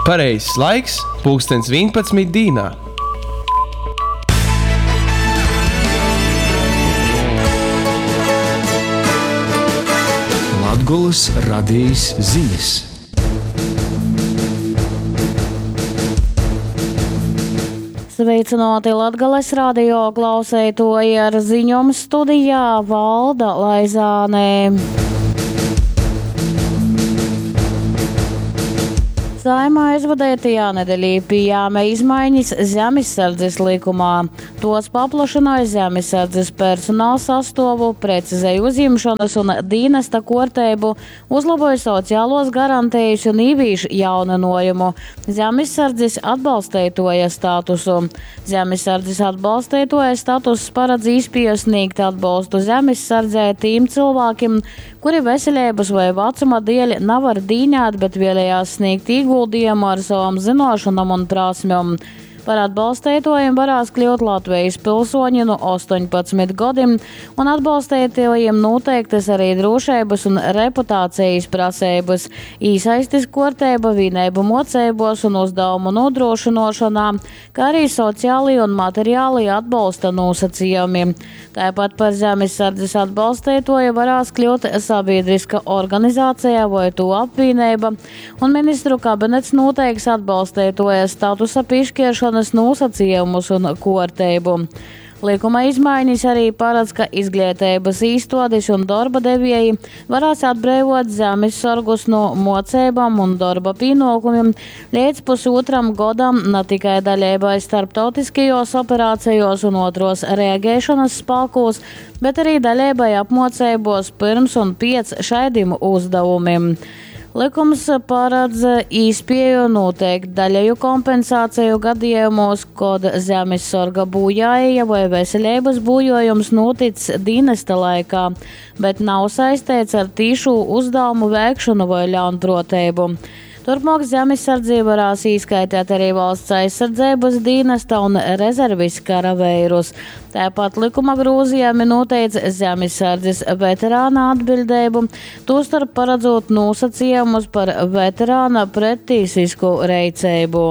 Pareizs laiks – pulkstens 11 dīnā. Latgolys radejis zinis. Sveicināti Latgales radio klauseitoji ar ziņom studijā Valda Laizāne. Saeima aizvadeitajā nedeļī pījāme izmaiņas Zemissardzes likumā. Tos paplašināja Zemissardzes personāla sastuovu, precizēja uzņemšanas un dīnesta kuorteibu, uzlaboja sociālos garantijas un īvīš jauninojumu Zemissardzes atbalsteitoja statusu. Zemissardzes atbalsteitoja statuss paredz īspēju sniegt atbalstu Zemissardzē tīm cilvēkiem, kuri veselības vai vecuma dēļ nevar dīnēt, bet vēlējās sniegt ieguldījumu ar savām zināšanām un prasmēm. Par atbalstītājiem varēs kļūt Latvijas pilsoņi no 18 gadiem, un atbalstītājiem noteiktas arī drošības un reputācijas prasības, īsaistis kārtība vienību mocībos un uzdevumu nodrošināšanā, kā arī sociālie un materiālie atbalsta nosacījumi. Tāpat par zemesardzes atbalstītāju varēs kļūt sabiedriska organizācija vai to apvienība, un ministru kabinets noteiks atbalstītāja statusa piešķiršanas nosacījumus un kārtību. Likuma izmaiņas arī paredz, ka izglītības īstodes un darba devēji varēs atbrīvot zemesargus no mocībām un darba pienākumiem līdz pusotram gadam ne tikai daļībai starptautiskajos operācijos un otros reaģēšanas spēkos, bet arī daļībai apmocībos pirms un pēc šādiem uzdevumiem. Likums paredz īspēju noteikt daļēju kompensāciju gadījumos, kad zemesarga bojāja vai veselības bojājums noticis dienesta laikā, bet nav saistīts ar tīšu uzdevumu veikšanu vai ļaunprātību. Turpmāk zemesardzība varēs īskaitīt arī valsts aizsardzības dienesta un rezervis karavērus. Tāpat likuma grozījumi noteica zemesardzes veterāna atbildību, tostarp paredzot nosacījumus par veterāna prettīsisku reicību.